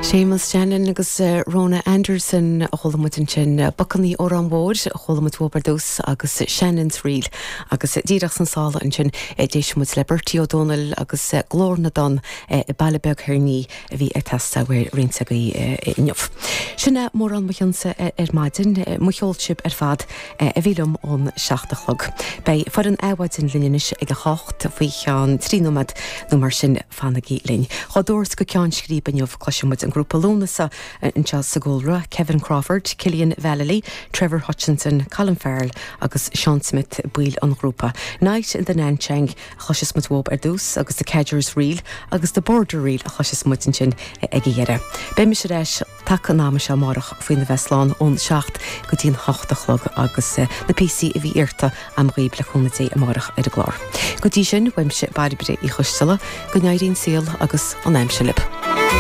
Séamus Shannon agus Rhona Anderson a chuala muid ansin. Bacannaí Órán Mhóir a chuala muid uathub ar dtús agus Shannon's Reel. Agus díreach sna sála ansin d'éist muid le Bertie Ó Dónaill agus Glór na dTonn Baile Beag Thoir Ní a bhí ag teastáil uaidh roinnt agaibh inniu. Sin é mórán mo chinnse ar maidin. Mo cheol sibh ar fad a bhí liom ón 7 a chlog. Beidh foireann Adhmhaidin linn anois ag 8 faoi cheann 3 nóiméad nó mar sin. Fanaigí linn. Dhá dturas go ceann scríbe inniu, cloisfidh muid an grúpa Lúnasa anseo sa gcúlra, Kevin Crawford, Cillian Vallely, Trevor Hutchinson, Colin Farrell agus Seán Smith, baill an ghrúpa. Night in the Nanchang a chloisfeas muid uathub ar dtús agus The Cadger's Reel agus The Border Reel a chloisfeas muid ansin ag a dheireadh. Beidh mise ar ais taca an ama seo amárach faoina bheith slán ón 7 go dtí an 8 a chlog agus na píosaí a bhí iarrta a'm dhaoib le cúnamh Dé amárach ar an gclár. Go dtí sin, uaimse Bairbre Uí Choisteala, go n-éirí an saol agus an aimsir libh.